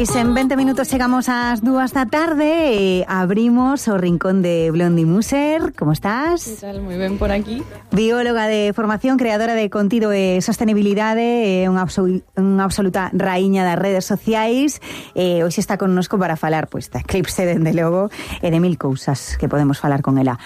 Pois en 20 minutos chegamos ás 2 da tarde e abrimos o rincón de Blondie Muser. Como estás? Que tal? Moi ben por aquí. Bióloga de formación, creadora de contido e sostenibilidade, unha absoluta raíña das redes sociais. Hoxe está connosco para falar da Eclipse, dende logo, e de mil cousas que podemos falar con ela.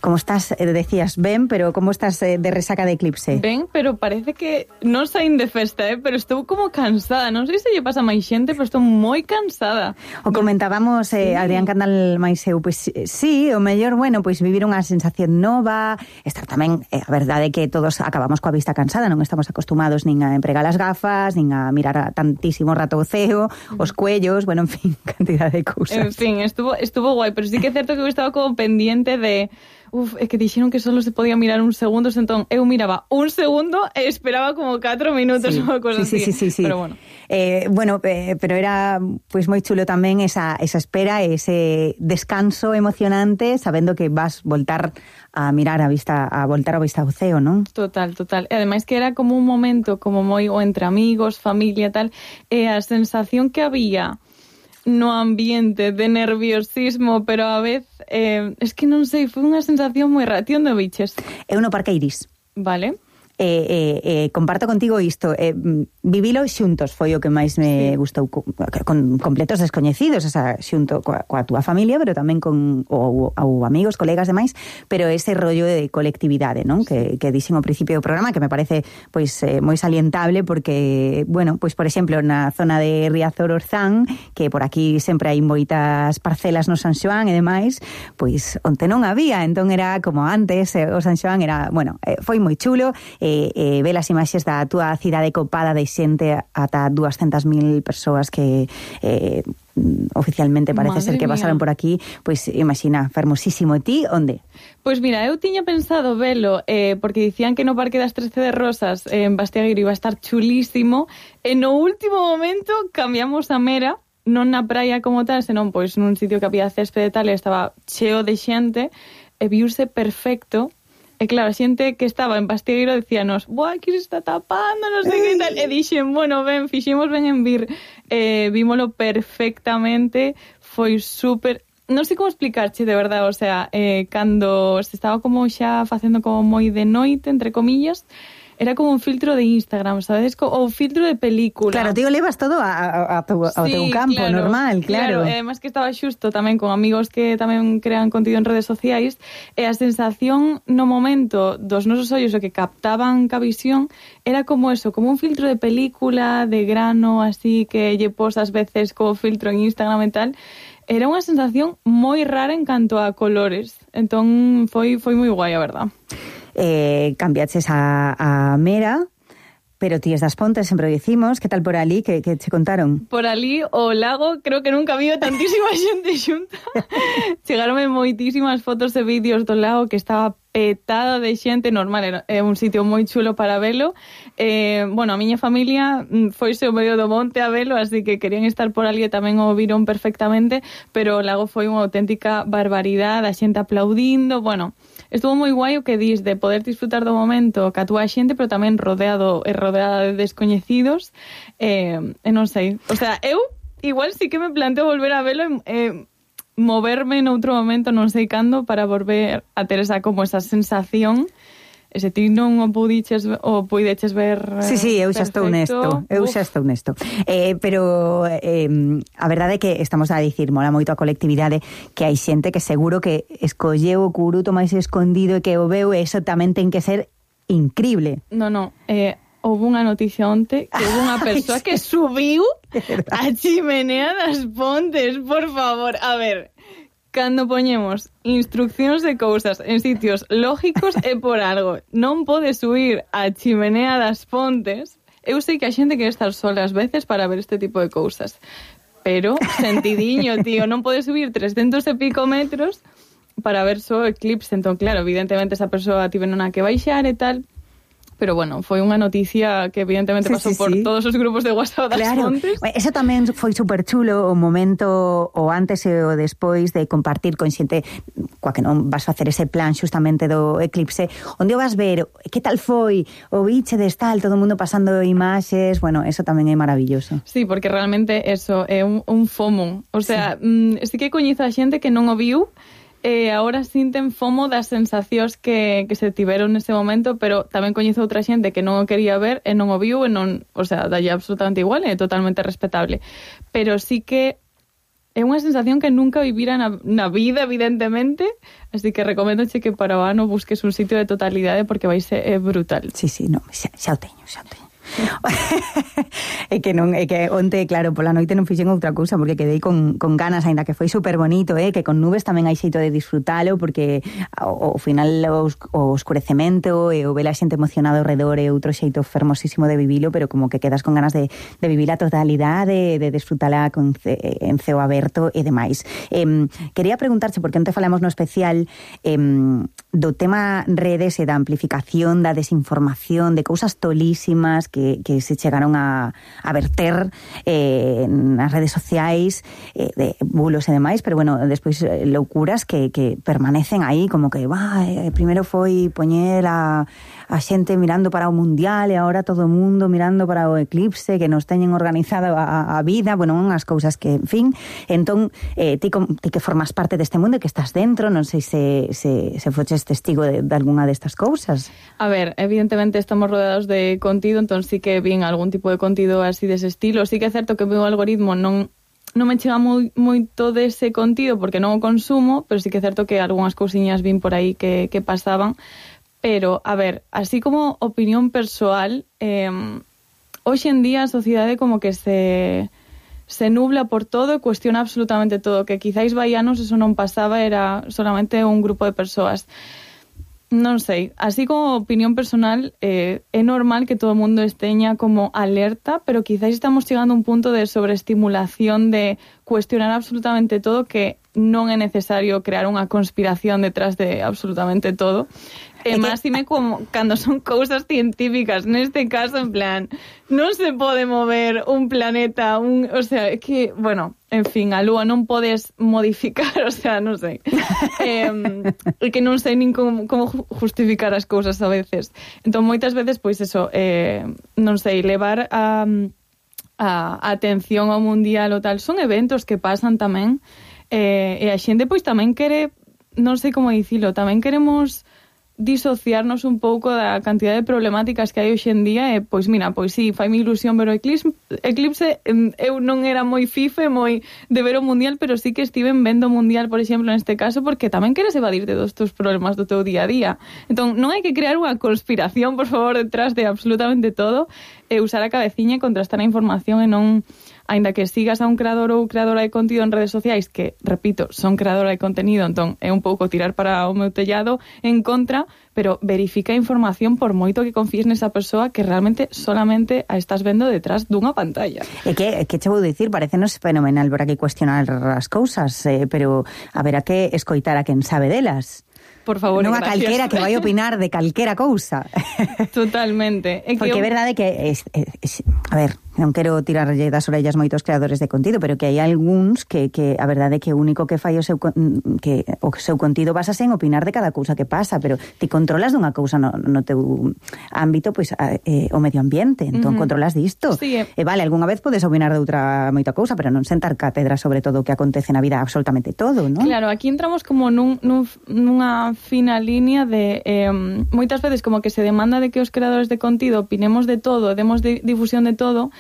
Como estás, decías, ben, pero como estás de resaca de Eclipse? Ben, pero parece que non saín de festa, pero estou como cansada. Non sei se lle pasa máis xente, pero estou moi cansada. O comentábamos, sí. Adrián Candal máis eu, pois sí, o mellor, bueno, pois vivir unha sensación nova, estar tamén, a verdade que todos acabamos coa vista cansada, non estamos acostumados nin a empregar as gafas, nin a mirar tantísimo rato o ceo, os cuellos, bueno, en fin, cantidad de cousas. En fin, estuvo guai, pero sí que é certo que eu estaba como pendiente de... é que dixeron que solo se podía mirar un segundo, entón eu miraba un segundo e esperaba como 4 minutos ou cosa así. Sí. Pero bueno. Pero era pois moi chulo tamén esa espera, ese descanso emocionante, sabendo que vas voltar a mirar a voltar a vista ao ceo, non? Total. E ademais que era como un momento como moi o entre amigos, familia, tal, e a sensación que había no ambiente de nerviosismo, pero a vez es que non sei, foi unha sensación moi rara. Ti onde viches? Eu no Parque Iris. Vale. Comparto contigo isto, vivilo xuntos foi o que máis me gustou, con completos descoñecidos, o sea, xunto coa túa familia, pero tamén con ou amigos, colegas demais, pero ese rollo de colectividade, non? Que dixen ao principio do programa, que me parece pois moi salientable, porque, bueno, pois por exemplo, na zona de Riazor-Orzán, que por aquí sempre hai moitas parcelas no San Xoán e demais, pois onte non había, entón era como antes, o San Xoán era, bueno, foi moi chulo. Ver as imaxes da túa cidade copada de xente, ata 200.000 persoas que oficialmente parece ser que pasaron por aquí, pois imagina, fermosísimo. E ti, onde? Pois mira, eu tiña pensado velo, porque dicían que no Parque das 13 de Rosas en Bastiagueiro iba a estar chulísimo, e no último momento cambiamos a Mera, non na praia como tal, senón pois nun sitio que había céspede e tal, e estaba cheo de xente, e viuse perfecto. E claro, a xente que estaba en Bastiagueiro decíanos, buah, que se está tapando, non sei que tal. E dixen, bueno, fixemos ben en vir. Vímolo perfectamente, foi súper... Non sei como explicarche, de verdade, o sea, cando se estaba como xa facendo como moi de noite, entre comillas, era como un filtro de Instagram, sabes? O filtro de película. Claro, tío, levas todo ao teu campo, claro, normal, claro. E además que estaba xusto tamén con amigos que tamén crean contido en redes sociais, e a sensación no momento dos nosos ollos o que captaban ca visión era como eso, como un filtro de película, de grano, así que lle posas veces como filtro en Instagram e tal. Era unha sensación moi rara en canto a colores. Entón foi moi guai, a verdad. Cambiaches a Mera, pero ti es das Pontes, sempre o dicimos. Que tal por ali? Que che contaron? Por ali, o lago, creo que nunca viu tantísima xente xunta. Chegaronme moitísimas fotos e vídeos do lago, que estaba petado de xente, normal, é un sitio moi chulo para velo. Bueno, a miña familia foise ao medio do monte a velo, así que querían estar por ali e tamén o viron perfectamente, pero o lago foi unha auténtica barbaridade, a xente aplaudindo, bueno... Estuvo moi guai o que dis de poder disfrutar do momento ca túa xente, pero tamén rodeada de descoñecidos, e non sei. O sea, eu igual sí que me planteo volver a velo e moverme noutro momento, non sei cando, para volver a ter esa sensación. E se ti non o puideches ver Sí, eu xa estou nesto. Pero a verdade é que estamos a dicir, mola moito a colectividade, que hai xente que seguro que escolleu o curuto máis escondido e que o veu, e iso tamén ten que ser increíble. Non, houve unha noticia onte que houve unha persoa que subiu a chimenea das Pontes, por favor, a ver... Cando poñemos instruccións de cousas en sitios lógicos é por algo. Non pode subir a chimenea das Pontes. Eu sei que a xente quere estar sola ás veces para ver este tipo de cousas. Pero, sentidiño, tío, non pode subir 300 e pico metros para ver só eclipse. Entón, claro, evidentemente esa persoa tiven unha que baixar e tal. Pero bueno, foi unha noticia que evidentemente pasou por todos os grupos de WhatsApp das fontes. Eso tamén foi super chulo, o momento o antes e o despois de compartir con xente coa que non vas facer ese plan xustamente do eclipse, onde o vas ver, que tal foi, o biche de tal, todo o mundo pasando imaxes, bueno, eso tamén é maravilloso. Sí, porque realmente eso é un FOMO, o sea, sí que coñezo a xente que non o viu, ahora sinten FOMO das sensacións que se tiveron nese momento, pero tamén coñezo outra xente que non o quería ver e non o viu e non, o sea, dalle absolutamente igual, é totalmente respetable. Pero sí que é unha sensación que nunca vivira na vida, evidentemente, así que recomendoche que para o ano busques un sitio de totalidade porque vai ser brutal. Sí, no, xa o teño. É que onte, claro, pola noite non fixen outra cousa porque quedei con ganas, aínda que foi super bonito, que con nubes tamén hai xeito de disfrutalo porque ao final o escurecemento e o ver a xente emocionada ao redor é outro xeito fermosísimo de vivilo, pero como que quedas con ganas de vivir a totalidade, de disfrutala en ceo aberto e demais. Quería preguntarche, porque onte falamos no especial do tema redes e da amplificación da desinformación, de cousas tolísimas que se chegaron a verter nas redes sociais, de bulos e demais, pero bueno, despois loucuras que permanecen aí, como que primeiro foi poñer a xente mirando para o mundial e agora todo o mundo mirando para o eclipse, que nos teñen organizado a vida, bueno, unhas cousas que, en fin, entón, ti que formas parte deste mundo e que estás dentro, non sei se foches testigo de algunha destas cousas. A ver, evidentemente estamos rodeados de contido, entón sí que vin algún tipo de contido así dese estilo. Sí que é certo que o meu algoritmo non me chega moito dese contido porque non o consumo, pero sí que é certo que algunhas cousiñas vin por aí que pasaban. Pero, a ver, así como opinión persoal, hoxe en día a sociedade como que se nubla por todo e cuestiona absolutamente todo, que quizáis vai anos eso non pasaba, era solamente un grupo de persoas. Non sei, así como opinión personal, é normal que todo o mundo esteña como alerta, pero quizáis estamos chegando a un punto de sobreestimulación, de cuestionar absolutamente todo, que non é necesario crear unha conspiración detrás de absolutamente todo. E máxime como cando son cousas científicas, neste caso, en plan, non se pode mover un planeta, o sea, é que, bueno, en fin, a Lúa non podes modificar, o sea, non sei. É que non sei nin como justificar as cousas a veces. Entón, moitas veces, pois eso, non sei, levar a atención ao mundial ou tal, son eventos que pasan tamén, e a xente, pois, tamén quere, non sei como dicilo, tamén queremos disociarnos un pouco da cantidad de problemáticas que hai hoxe en día e, pois mira, pois sí, faime ilusión ver o eclipse, eu non era moi fife, moi de ver o mundial, pero sí que estiven vendo o mundial, por exemplo, neste caso, porque tamén queres evadirte dos teus problemas do teu día a día. Entón, non hai que crear unha conspiración, por favor, detrás de absolutamente todo, e usar a cabeciña e contrastar a información e non, aínda que sigas a un creador ou creadora de contido en redes sociais, que, repito, son creadora de contenido, entón é un pouco tirar para o meu tellado en contra, pero verifica a información por moito que confíes nesa persoa que realmente solamente a estás vendo detrás dunha pantalla. É que che vou dicir, parecenos fenomenal ver que cuestionar as cousas, pero haberá que escoitar a quen sabe delas. Por favor, non a calquera que vai opinar de calquera cousa. Totalmente. Porque é verdade que a ver, non quero tirarlle das orellas moitos creadores de contido, pero que hai algúns que a verdade é que o único que fai o seu contido basase en opinar de cada cousa que pasa, pero ti controlas dunha cousa no teu ámbito, pois o medio ambiente, entón controlas disto. Sí, e vale, algunha vez podes opinar de outra moita cousa, pero non sentar cátedra sobre todo o que acontece na vida, absolutamente todo, non? Claro, aquí entramos como nunha fina línea de moitas veces como que se demanda de que os creadores de contido opinemos de todo, demos difusión de todo,